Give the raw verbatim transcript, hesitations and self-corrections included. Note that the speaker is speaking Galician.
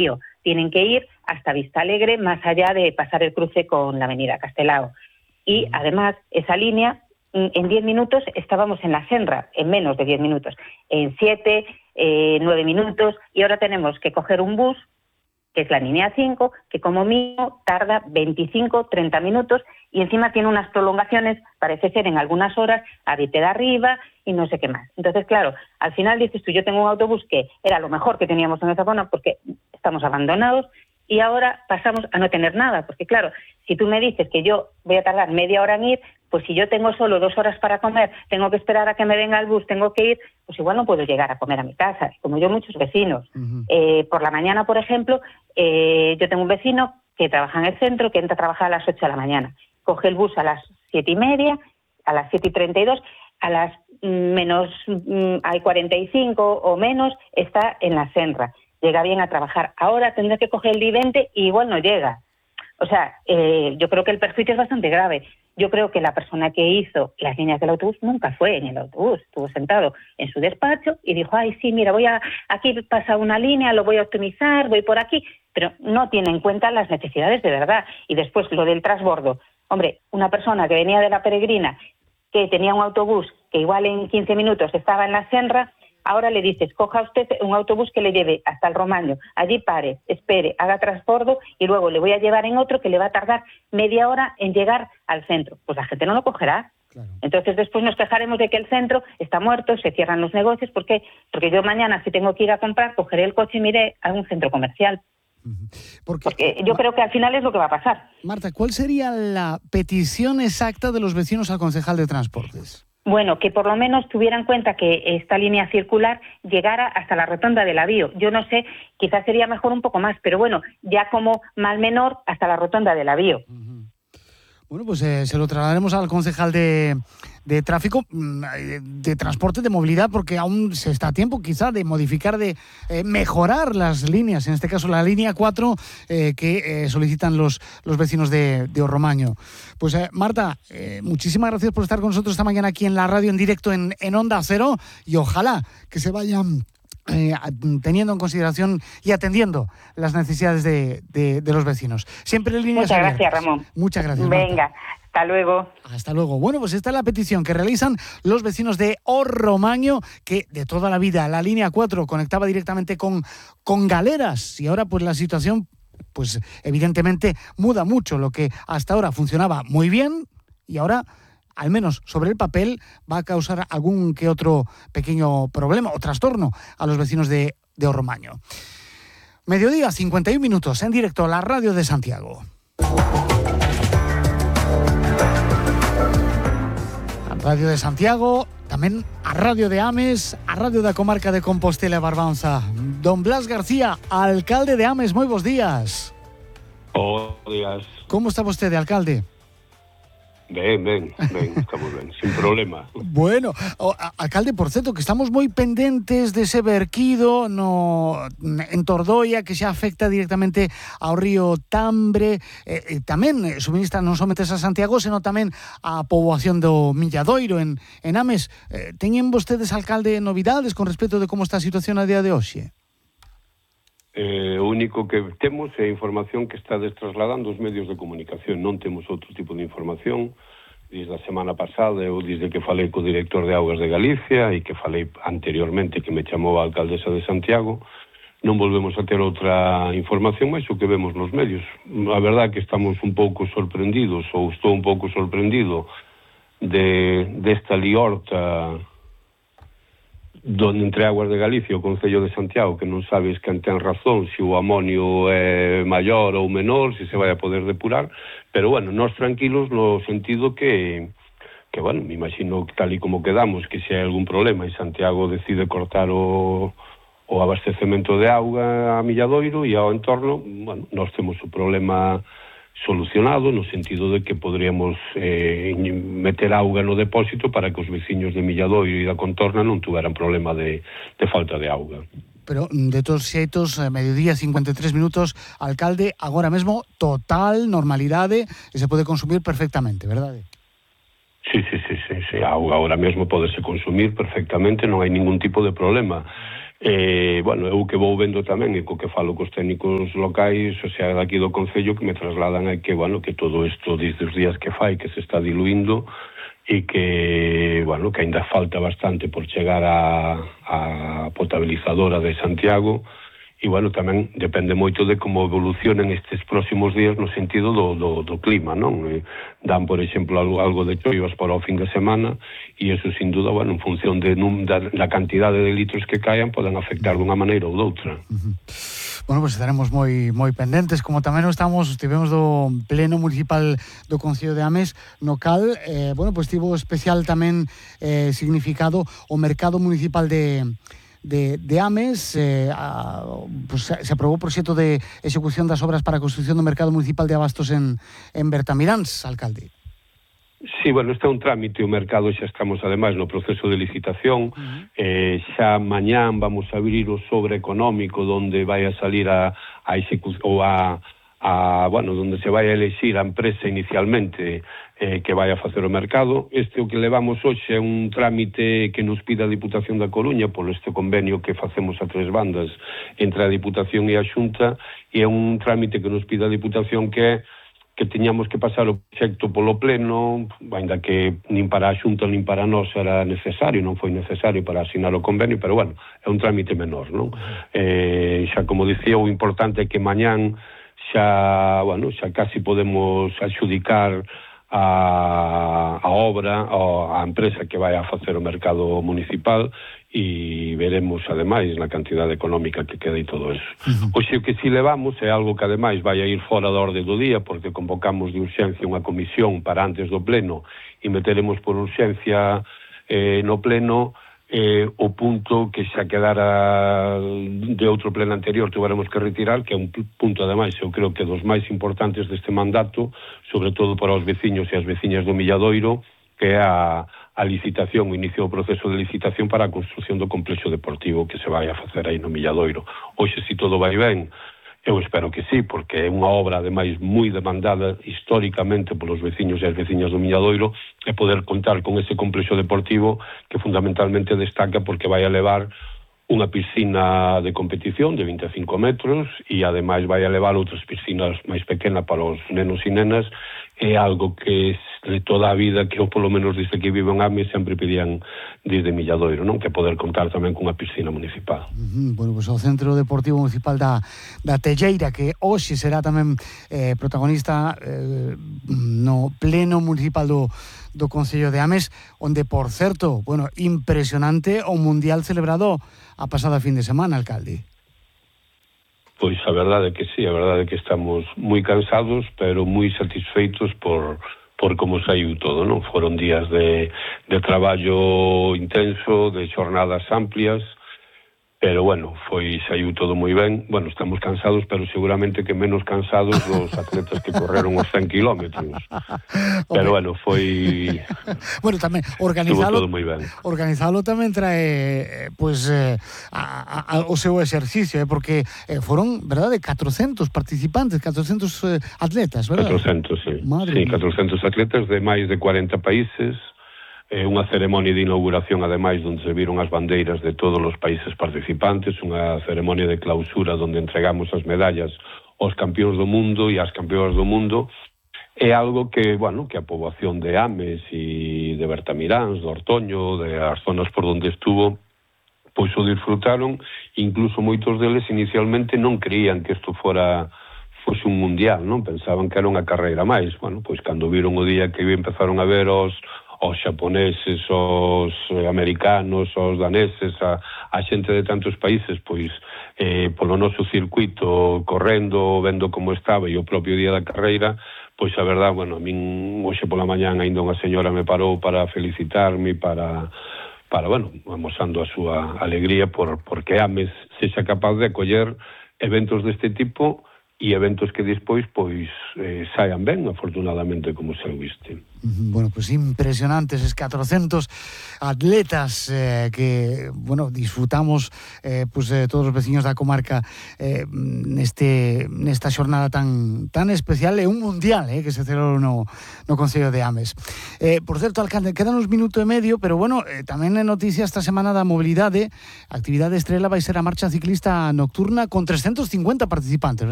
Río. Tienen que ir hasta Vistalegre, más allá de pasar el cruce con la avenida Castelao. Y además, esa línea, en diez minutos estábamos en la Senra, en menos de diez minutos, en siete, eh, nueve minutos, y ahora tenemos que coger un bus, que es la línea cinco, que como mínimo tarda veinticinco, treinta minutos, y encima tiene unas prolongaciones, parece ser en algunas horas, a Vite de Arriba y no sé qué más. Entonces, claro, al final dices tú, yo tengo un autobús que era lo mejor que teníamos en esa zona porque estamos abandonados, y ahora pasamos a no tener nada, porque claro, si tú me dices que yo voy a tardar media hora en ir, pues si yo tengo solo dos horas para comer, tengo que esperar a que me venga el bus, tengo que ir, pues igual no puedo llegar a comer a mi casa, como yo muchos vecinos. Uh-huh. Eh, por la mañana, por ejemplo, eh, yo tengo un vecino que trabaja en el centro, que entra a trabajar a las ocho de la mañana, coge el bus a las siete y media, a las siete y treinta y dos, a las menos mm, hay cuarenta y cinco o menos, está en la Senra. Llega bien a trabajar. Ahora tendrá que coger el I veinte y igual no llega. O sea, eh, yo creo que el perjuicio es bastante grave. Yo creo que la persona que hizo las líneas del autobús nunca fue en el autobús. Estuvo sentado en su despacho y dijo, ay, sí, mira, voy a aquí pasa una línea, lo voy a optimizar, voy por aquí. Pero no tiene en cuenta las necesidades de verdad. Y después lo del transbordo. Hombre, una persona que venía de la Peregrina, que tenía un autobús que igual en quince minutos estaba en la Senra, ahora le dices, coja usted un autobús que le lleve hasta el Romaño, allí pare, espere, haga transbordo y luego le voy a llevar en otro que le va a tardar media hora en llegar al centro. Pues la gente no lo cogerá. Claro. Entonces después nos quejaremos de que el centro está muerto, se cierran los negocios. ¿Por qué? Porque yo mañana, si tengo que ir a comprar, cogeré el coche y me iré a un centro comercial. Porque, Porque yo creo que al final es lo que va a pasar. Marta, ¿cuál sería la petición exacta de los vecinos al concejal de Transportes? Bueno, que por lo menos tuviera en cuenta que esta línea circular llegara hasta la rotonda de la Bío. Yo no sé, quizás sería mejor un poco más, pero bueno, ya como mal menor hasta la rotonda de la Bío. Uh-huh. Bueno, pues eh, se lo trasladaremos al concejal de, de tráfico, de, de transporte, de movilidad, porque aún se está a tiempo quizá de modificar, de eh, mejorar las líneas, en este caso la línea cuatro eh, que eh, solicitan los, los vecinos de, de Orromaño. Pues eh, Marta, eh, muchísimas gracias por estar con nosotros esta mañana aquí en la radio en directo en, en Onda Cero, y ojalá que se vayan Eh, teniendo en consideración y atendiendo las necesidades de, de, de los vecinos. Siempre en líneas Muchas abiertas. Gracias, Ramón. Muchas gracias, Marta. Venga, hasta luego. Hasta luego. Bueno, pues esta es la petición que realizan los vecinos de Orromaño, que de toda la vida la línea cuatro conectaba directamente con, con Galeras, y ahora pues la situación, pues evidentemente muda mucho. Lo que hasta ahora funcionaba muy bien y ahora, al menos sobre el papel, va a causar algún que otro pequeño problema o trastorno a los vecinos de, de Orromaño. Mediodía, cincuenta y un minutos, en directo a la radio de Santiago. A Radio de Santiago, tamén a Radio de Ames, a Radio da Comarca de Compostela e Barbanza. Don Blas García, alcalde de Ames, moi bons días. Bos días. Como está vostede, alcalde? Ben, ben, ben, estamos ben, sin problema. Bueno, o, a, alcalde, por certo, que estamos moi pendentes dese verquido no, en Tordoia, que xa afecta directamente ao río Tambre, eh, eh, tamén suministra non somente a Santiago, senón tamén a poboación do Milladoiro en, en Ames. Eh, teñen vostedes, alcalde, novidades con respecto de como está a situación a día de hoxe? Eh, o único que temos é a información que está trasladando os medios de comunicación. Non temos outro tipo de información. Desde a semana pasada, eu desde que falei co director de Augas de Galicia e que falei anteriormente que me chamou a alcaldesa de Santiago, non volvemos a ter outra información máis o que vemos nos medios. A verdade que estamos un pouco sorprendidos, ou estou un pouco sorprendido de desta liorta donde entre Augas de Galicia e o Concello de Santiago, que non sabes quen ten razón, se o amonio é maior ou menor, se se vai a poder depurar, pero bueno, nós tranquilos no sentido que, que bueno, me imagino que tal e como quedamos, que se hai algún problema e Santiago decide cortar o, o abastecemento de auga a Milladoiro e ao entorno, bueno, nós temos o problema solucionado no sentido de que podríamos eh, meter auga no depósito para que os veciños de Milladoiro e da contorna non tuveran problema de, de falta de auga. Pero de todos xeitos, mediodía, cincuenta e tres minutos, alcalde, agora mesmo total normalidade e se pode consumir perfectamente, verdade? Sí, sí, sí, sí, sí. A auga agora mesmo podese consumir perfectamente, non hai ningún tipo de problema. Eh, bueno, eu que vou vendo tamén e co que falo cos técnicos locais, o sea, daqui do Concello, que me trasladan a que, bueno, que todo isto desde os días que fai, que se está diluindo e que, bueno, que ainda falta bastante por chegar a, a potabilizadora de Santiago. E, bueno, tamén depende moito de como evolucionen estes próximos días no sentido do, do, do clima, non? Eh, dan, por exemplo, algo, algo de choivas para o fin de semana e eso, sin duda, bueno, en función de, num, da, da cantidade de litros que caian, poden afectar dunha maneira ou doutra. Uh-huh. Bueno, pois pues estaremos moi moi pendentes, como tamén o estamos, estivemos do pleno municipal do Concello de Ames, no cal, eh, bueno, pois pues tivo especial tamén eh, significado o mercado municipal de De, de Ames. eh, a, pues se aprobou o proxecto de execución das obras para a construción do mercado municipal de abastos en, en Bertamiráns, alcalde. Sí, bueno, este é un trámite, o mercado xa estamos ademais no proceso de licitación. Uh-huh. eh, xa mañán vamos a abrir o sobre económico donde vai a salir a, a execución ou a a, bueno, donde se vai a elexir a empresa inicialmente eh, que vai a facer o mercado. Este o que levamos hoxe é un trámite que nos pide a Diputación da Coruña por este convenio que facemos a tres bandas entre a Diputación e a Xunta, e é un trámite que nos pide a Diputación que é que teñamos que pasar o proxecto polo pleno, ainda que nin para a Xunta nin para nós era necesario, non foi necesario para asinar o convenio, pero bueno, é un trámite menor, non? Eh, xa como dicía, o importante é que mañán xa, bueno, xa casi podemos adxudicar a, a obra a empresa que vai a facer o mercado municipal e veremos ademais na cantidade económica que queda e todo eso. Uh-huh. Oxe, o que si levamos é algo que ademais vai a ir fora da orde do día, porque convocamos de urxencia unha comisión para antes do pleno e meteremos por urxencia eh, no pleno Eh, o punto que xa quedara de outro pleno anterior tuveremos que retirar, que é un punto ademais eu creo que dos máis importantes deste mandato, sobre todo para os veciños e as veciñas do Milladoiro, que é a, a licitación, o inicio do proceso de licitación para a construción do complexo deportivo que se vai a facer aí no Milladoiro. Hoxe, se todo vai ben, eu espero que sí, porque é unha obra ademais moi demandada históricamente polos veciños e as veciñas do Milladoiro, e poder contar con ese complexo deportivo que fundamentalmente destaca porque vai a levar unha piscina de competición de vinte e cinco metros e ademais vai a levar outras piscinas máis pequenas para os nenos e nenas. É algo que de toda a vida que eu polo menos desde que vivo en Ames sempre pedían desde Milladoiro, non? Que poder contar tamén cunha piscina municipal. Uh-huh. Bueno, pois pues, o Centro Deportivo Municipal da, da Telleira, que hoxe será tamén eh, protagonista eh, no pleno municipal do, do Concello de Ames, onde, por certo, bueno, impresionante o Mundial celebrado a pasada fin de semana, alcalde. Pois a verdade é que sí, a verdade é que estamos moi cansados, pero moi satisfeitos por, por como saiu todo, non? Foron días de, de traballo intenso, de xornadas amplias, pero bueno, foi saiu todo moi ben. Bueno, estamos cansados, pero seguramente que menos cansados dos atletas que correron os cen kilómetros. Pero bueno, foi... Bueno, tamén organizalo, todo moi ben. Organizalo tamén trae pues eh, a, a, o seu exercicio, eh, porque eh, foron, verdade, catrocentos participantes, catrocentos eh, atletas, verdade? catrocentos, sí. Madre sí, mía. catrocentos atletas de máis de cuarenta países. É unha ceremonia de inauguración, ademais, onde se viron as bandeiras de todos os países participantes, unha ceremonia de clausura onde entregamos as medallas aos campións do mundo e ás campeonas do mundo. É algo que, bueno, que a poboación de Ames e de Bertamiráns, do Ortoño, de as zonas por onde estuvo, pois o disfrutaron, incluso moitos deles inicialmente non creían que isto fora fose un mundial, non? Pensaban que era unha carreira máis. Bueno, pois cando viron o día que empezaron a ver os os xaponeses, os americanos, os daneses, a, a xente de tantos países, pois eh, polo noso circuito, correndo, vendo como estaba, e o propio día da carreira, pois a verdad, bueno, a min hoxe pola mañán ainda unha señora me parou para felicitarme, para, para bueno, amosando a súa alegría por porque Ames sexa capaz de acoller eventos deste tipo e eventos que despois pois eh, saian ben, afortunadamente, como se viste. Bueno, pues impresionantes es catorcentos atletas eh, que, bueno, disfrutamos eh, pues eh, todos os veciños da comarca eh, neste nesta xornada tan tan especial e un mundial eh, que se celebrou no, no Concello de Ames. Eh, por certo, alcalde, quedan uns minuto e medio, pero bueno, eh, tamén é noticia esta semana da mobilidade. A actividade estrela vai ser a marcha ciclista nocturna con trescentos cincuenta participantes, ¿verdad?